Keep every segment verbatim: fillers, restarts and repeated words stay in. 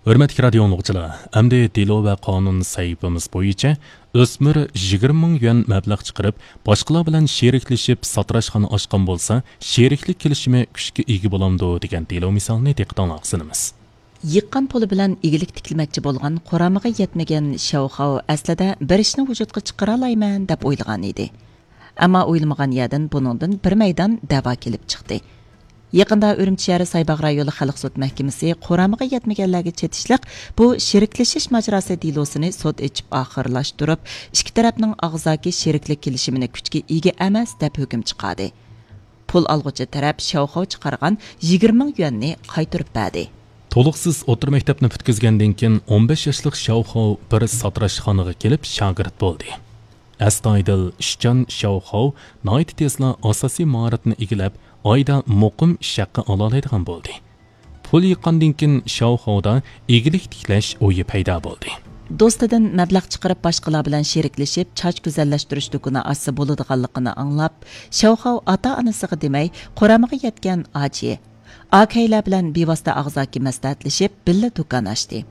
ھۆرمەتلىك رادىيو ئاڭلىغۇچىلار، ئەمدى دېلو ۋە قانۇن سەھىپىمىز بويىچە ئۆسمۈر يىگىرمە مىڭ يۈەن مەبلەغ چىقىرىپ، باشقىلار بىلەن شېرىكلىشىپ ساتىراشخانا ئاچقان بولسا، شېرىكلىك كېلىشىمى كۈچكە ئىگە بولامدۇ دېگەن دېلو مىسالىنى دىققىتىڭلارغا سۇنىمىز. يىغقان پۇلى بىلەن ئىگىلىك تىكلىمەكچى بولغان قۇرامىغا يەتمىگەن شياۋخاۋ ئەسلىدە بېرىشنى ۋۇجۇدقا چىقىرالايمەن دەپ ئويلىغان ئىدى. ئەمما ئويلىمىغان يەردىن بۇنىڭدىن بىر مەيدان دەۋا كېلىپ چىقتى. يېقىندا ئۈرۈمچى شەھىرى سايباغ رايونلۇق خەلق سوت مەھكىمىسى قۇرامىغا يەتمىگەنلەرگە چېتىشلىق بۇ شېرىكلىشىش ماجىراسى دېلوسىنى سوت ئېچىپ ئاخىرلاشتۇرۇپ، ئىككى تەرەپنىڭ ئاغزاكى شېرىكلىك كېلىشىمىنى كۈچكە ئىگە ئەمەس دەپ ھۆكۈم چىقاردى. پۇل ئالغۇچى تەرەپ شياۋخاۋ چىقارغان يىگىرمە مىڭ يۈەننى قايتۇرۇپ بەردى. تولۇقسىز ئوتتۇرا مەكتەپنى پۈتكۈزگەندىن كېيىن، ئون بەش ياشلىق شياۋخاۋ بىر ساتىراشخانىغا كېلىپ شاگىرت بولدى. ئەستايىدىل، ئىشچان شياۋخاۋ ناھايىتى تېزلا ئاساسىي ماھارەتنى ئىگىلەپ، ئايدا مۇقىم ئىش ھەققى ئالالايدىغان بولدى. پۇل يىغقاندىن كېيىن، شياۋخاۋدا ئىگىلىك تىكلەش ئويى پەيدا بولدى. دوستىدىن مەبلەغ چىقىرىپ، باشقىلار بىلەن شېرىكلىشىپ، چاچ گۈزەللەشتۈرۈش دۇكىنى ئاچسا بولىدىغانلىقىنى ئاڭلاپ، شياۋخاۋ ئاتا-ئانىسىغا دېمەي، قۇرامىغا يەتكەن ئاجى، ئاكەيلەر بىلەن بىۋاسىتە ئاغزاكى مەسلىھەتلىشىپ، بىللە دۇكان ئاچتى.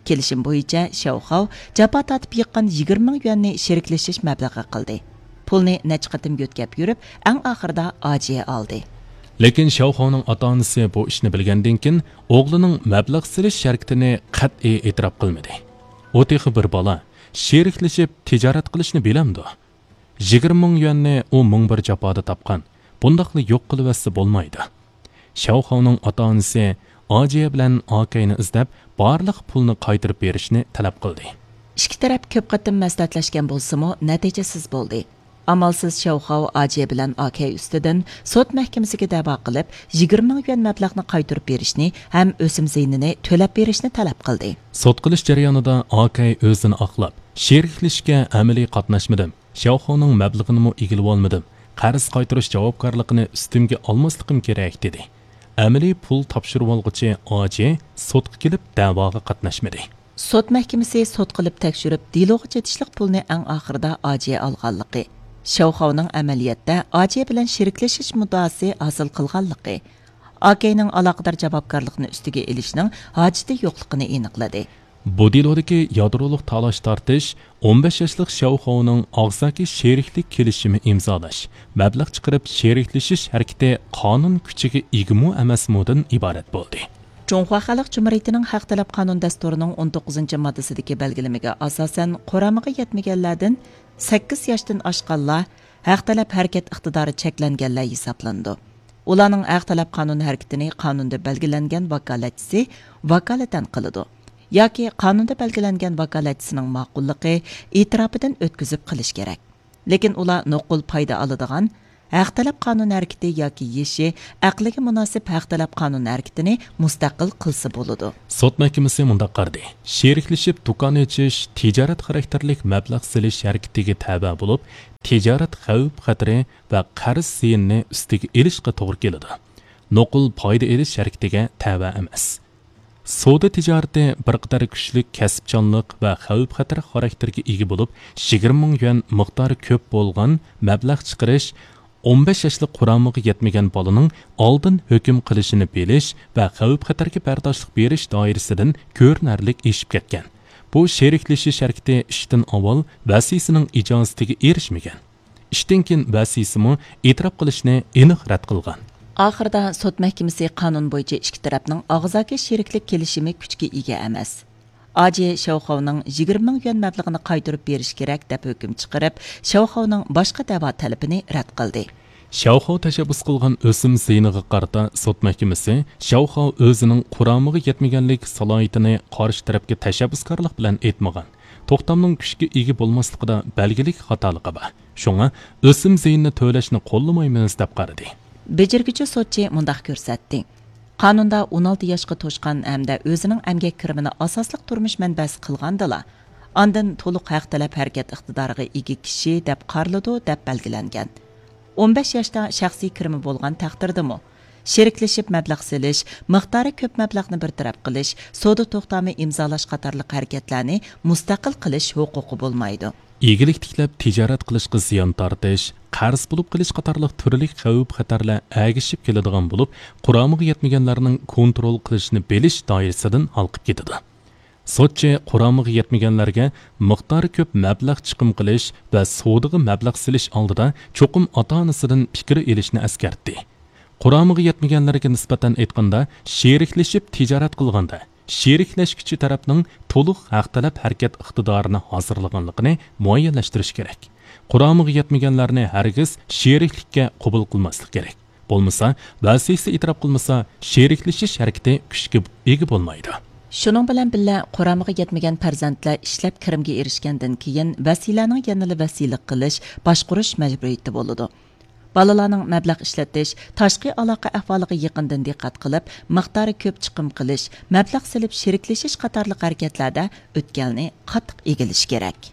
كېلىشىم بويىچە، شياۋخاۋ جاپا تارتىپ يىغقان يىگىرمە مىڭ يۈەننى شېرىكلىشىش مەبلىغى قىلدى. پۇلنى نەچچە قېتىم يۆتكەپ يۈرۈپ، ئەڭ ئاخىرىدا ئاجى ئالدى. لېكىن شياۋخاۋنىڭ ئاتا-ئانىسى بۇ ئىشنى بىلگەندىن كېيىن، ئوغلىنىڭ مەبلەغ سېلىش ھەرىكىتىنى قەتئىي ئېتىراپ قىلمىدى. ئۇ تېخى بىر بالا، شېرىكلىشىپ تىجارەت قىلىشنى بىلەمدۇ؟ يىگىرمە مىڭ يۈەننى ئۇ مىڭ بىر جاپادا تاپقان، بۇنداقلا يوق قىلىۋەتسە بولمايدۇ. شياۋخاۋنىڭ ئاتا-ئانىسى ئاجى بىلەن ئاكەينى ئىزدەپ، بارلىق پۇلنى قايتۇرۇپ بېرىشنى تەلەپ قىلدى. ئىككى تەرەپ كۆپ قېتىم مەسلىھەتلەشكەن بولسىمۇ، نەتىجىسىز بولدى. ئامالسىز شياۋخاۋ ئاجى بىلەن ئاكەي ئۈستىدىن سوت مەھكىمىسىگە دەۋا قىلىپ، يىگىرمە مىڭ يۈەن مەبلەغنى قايتۇرۇپ بېرىشنى ھەم ئۆسۈم زىيىنىنى تۆلەپ بېرىشنى تەلەپ قىلدى. سوت قىلىش جەريانىدا ئاكەي ئۆزىنى ئاقلاپ، شېرىكلىشىشكە ئەمەلىي قاتناشمىدىم. شياۋخاۋنىڭ مەبلىغىنىمۇ ئىگىلىۋالمىدىم. قەرز قايتۇرۇش جاۋابكارلىقىنى ئۈستۈمگە ئالماسلىقىم كېرەك، دېدى. ئەمەلىي پۇل تاپشۇرۇۋالغۇچى ئاجى سوتقا كېلىپ دەۋاغا قاتناشمىدى. سوت مەھكىمىسى سوت قىلىپ تەكشۈرۈپ، دېلوغا چېتىشلىق پۇلنى ئەڭ ئاخىرىدا ئاجى ئالغانلىقى، شياۋخاۋنىڭ ئەمەلىيەتتە ئاجى بىلەن شېرىكلىشىش مۇددىئاسى ھاسىل قىلغانلىقى، ئاكەينىڭ ئالاقىدار جاۋابكارلىقنى ئۈستىگە ئېلىشنىڭ ھاجىتى يوقلۇقىنى ئېنىقلىدى. بۇ دېلودىكى يادرولۇق تالاش-تارتىش ئون بەش ياشلىق شياۋخاۋنىڭ ئاغزاكى شېرىكلىك كېلىشىمى ئىمزالاش، مەبلەغ چىقىرىپ شېرىكلىشىش ھەرىكىتى قانۇن كۈچىگە ئىگىمۇ ئەمەسمۇدىن ئىبارەت بولدى. جۇڭخۇا خەلق جۇمھۇرىيىتىنىڭ ھەق تەلەپ قانۇن دەستۇرىنىڭ ئون توققۇزىنچى ماددىسىدىكى بەلگىلىمىگە ئاساسەن، قۇرامىغا يەتمىگەنلەردىن سەككىز ياشتىن ئاشقانلار ھەق تەلەپ ھەرىكەت ئىقتىدارى چەكلەنگەنلەر ھېسابلىنىدۇ. ئۇلارنىڭ ھەق تەلەپ قانۇن ھەرىكىتىنى قانۇندا بەلگىلەنگەن ۋاكالەتچىسى ۋاكالىتەن قىلىدۇ ياكى قانۇندا بەلگىلەنگەن ۋاكالەتچىسىنىڭ ماقۇللۇقى، ئېتىراپىدىن ئۆتكۈزۈپ قىلىش كېرەك. لېكىن ئۇلار نوقۇل پايدا ئالىدىغان ھەق تەلەپ قانۇن ھەرىكىتى ياكى يېشى ئەقلىگە مۇناسىپ ھەق تەلەپ قانۇن ھەرىكىتىنى مۇستەقىل قىلسا بولىدۇ. سوت مەھكىمىسى مۇنداق قارىدى: شېرىكلىشىپ دۇكان ئېچىش تىجارەت خاراكتېرلىك مەبلەغ سېلىش ھەرىكىتىگە تەۋە بولۇپ، تىجارەت خەۋپ-خەتىرى ۋە قەرز زىيىنىنى ئۈستىگە ئېلىشقا توغرا كېلىدۇ. نوقۇل پايدا ئېلىش ھەرىكىتىگە تەۋە ئەمەس. سودا تىجارىتى بىر قەدەر كۈچلۈك كەسىپچانلىق ۋە خەۋپ-خەتەر خاراكتېرىگە ئىگە بولۇپ، يىگىرمە مىڭ يۈەن مىقدارى كۆپ بولغان مەبلەغ چىقىرىش، ئون بەش ياشلىق قۇرامىغا يەتمىگەن بالىنىڭ ئالدىن ھۆكۈم قىلىشىنى بىلىش ۋە خەۋپ-خەتەرگە بەرداشلىق بېرىش دائىرىسىدىن كۆرۈنەرلىك ئېشىپ كەتكەن. بۇ شېرىكلىشىش ھەرىكىتى ئىشتىن ئاۋۋال ۋەسىيسىنىڭ ئىجازىتىگە ئېرىشمىگەن. ئىشتىن كېيىن ۋەسىيسىمۇ ئېتىراپ قىلىشنى ئېنىق رەت قىلغان. ئاخىرىدا سوت مەھكىمىسى قانۇن بويىچە ئىككى تەرەپنىڭ ئاغزاكى شېرىكلىك كېلىشىمى كۈچكە ئىگە ئەمەس، ئاجى شياۋخاۋنىڭ يىگىرمە مىڭ يۈەن مەبلىغىنى قايتۇرۇپ بېرىش كېرەك دەپ ھۆكۈم چىقىرىپ، شياۋخاۋنىڭ باشقا دەۋا تەلىپىنى رەت قىلدى. شياۋخاۋ تەشەببۇس قىلغان ئۆسۈم زىيىنىغا قارىتا سوت مەھكىمىسى شياۋخاۋ ئۆزىنىڭ قۇرامىغا يەتمىگەنلىك سالاھىيىتىنى قارشى تەرەپكە تەشەببۇسكارلىق بىلەن ئېيتمىغان، توختامنىڭ كۈچكە ئىگە بولماسلىقىدا بەلگىلىك خاتالىقى بار. شۇڭا ئۆسۈم زىيىنىنى تۆلەشنى قوللىمايمىز، دەپ قارىدى. بېجىرگۈچى سوتچى مۇنداق كۆرسەتتى: قانۇندا ئون ئالتە ياشقا توشقان ھەمدە ئۆزىنىڭ ئەمگەك كىرىمىنى ئاساسلىق تۇرمۇش مەنبەسى قىلغاندىلا، ئاندىن تولۇق ھەق تەلەپ ھەرىكەت ئىقتىدارىغا ئىگە كىشى دەپ قارىلىدۇ، دەپ بەلگىلەنگەن. ئون بەش ياشتا شەخسىي كىرىمى بولغان تەقدىردىمۇ، شېرىكلىشىپ مەبلەغ سېلىش، مىقدارى كۆپ مەبلەغنى بىر تەرەپ قىلىش، سودا توختامى ئىمزالاش قاتارلىق ھەرىكەتلەرنى مۇستەقىل قىلىش ھوقۇقى بولمايدۇ. ئىگىلىك تىكلەپ تىجارەت قىلىشقا زىيان تارتىش، قەرز بولۇپ قېلىش قاتارلىق تۈرلۈك خەۋپ-خەتەرلەر ئەگىشىپ كېلىدىغان بولۇپ، قۇرامىغا يەتمىگەنلەرنىڭ كونترول قىلىشنى بىلىش دائىرىسىدىن ھالقىپ كېتىدۇ. سوتچى قۇرامىغا يەتمىگەنلەرگە مىقدارى كۆپ مەبلەغ چىقىم قىلىش ۋە سودىغا مەبلەغ سېلىش ئالدىدا چوقۇم ئاتا-ئانىسىدىن پىكىر ئېلىشنى ئەسكەرتتى. قۇرامىغا يەتمىگەنلەرگە نىسبەتەن ئېيتقاندا، شېرىكلىشىپ تىجارەت قىلغاندا، شېرىكلەشكۈچى تەرەپنىڭ تولۇق ھەق تەلەپ ھەرىكەت ئىقتىدارىنى ھازىرلىغانلىقىنى مۇئەييەنلەشتۈرۈش كېرەك. قۇرامىغا يەتمىگەنلەرنى ھەرگىز شېرىكلىككە قوبۇل قىلماسلىق كېرەك. بولمىسا، ۋەسىسە ئېتىراپ قىلمىسا، شېرىكلىشىش ھەرىكىتى كۈچكە ئىگە بولمايدۇ. شۇنىڭ بىلەن بىللە، قۇرامىغا يەتمىگەن پەرزەنتلەر ئىشلەپ كىرىمگە ئېرىشكەندىن كېيىن، ۋەسىيلەرنىڭ يەنىلا ۋەسىيلىك قىلىش، باشقۇرۇش مەجبۇرىيىتى بولىدۇ. بالىلارنىڭ مەبلەغ ئىشلىتىش، تاشقى ئالاقە ئەھۋالىغا يېقىندىن دىققەت قىلىپ، مىقدارى كۆپ چىقىم قىلىش، مەبلەغ سېلىپ شېرىكلىشىش قاتارلىق ھەرىكەتلەردە ئۆتكەلنى قاتتىق ئىگىلىشى كېرەك.